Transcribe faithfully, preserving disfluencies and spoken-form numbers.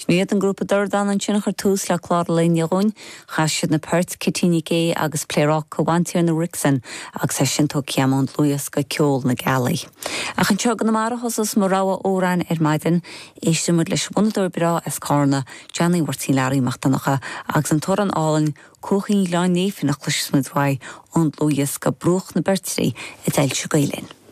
Sin iad an grúpa Dordán ansin a chuir tús le clár an lae inniu dhúinn, chas siad na poirt Cití Nic Aodha agus Pléaráca Bhantiarna Wrixon agus é sin tógtha ón dlúthdhiosca Ceol na Gealaí. Ach anseo i gConamara a thosós mo rogha amhrán ar maidin, éistfidh muid leis an bhfonnadóir breá as Carna, Johnny Mháirtín Learaí Mac Donncha agus an t-amhrán álainn Cuaichín Ghleann Néifinn a chloisfidh muid uaidh ón dlúthdhiosca Bruach na Beirtrí a d'fhoilsigh Gael Linn.